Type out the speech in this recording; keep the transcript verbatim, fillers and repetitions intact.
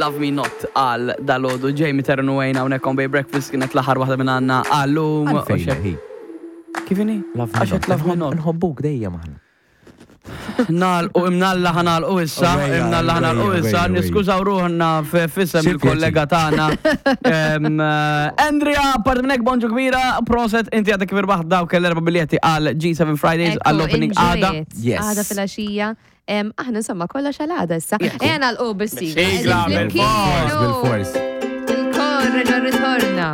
Love Me Not għal dalgħodu. Jamie Terran u Wayne hawnhekk on Bay Breakfast, kienet l-aħħar waħda minn għandna għallum. Għalfejn, hi? Kif inhi? Love Me Għax Not. Love Me Not. Nħobbuk dejjem aħna. Nagħlqu, imnalla ħa nagħlqu issa, Ejja, imnalla ħa nagħlqu ejja, issa, ejja, niskużaw ruħna f'isem Xi il-kollega tagħna. Em, eh, Andrea, parti minn hekk, bonġu kbira, proset, inti għadek kif irbaħt dawk l-erba' biljetti għal G seven Fridays Ekku, għall-opening enjoy għada. it. Yes. Għada filgħaxija. Em, Aħna insomma kollox għal għada issa. Ejja nagħlqu bis-sigla. Sigla, Qegħdin bil-fors. flimkien. Bil-fors. Il-kor reġa' ritorna.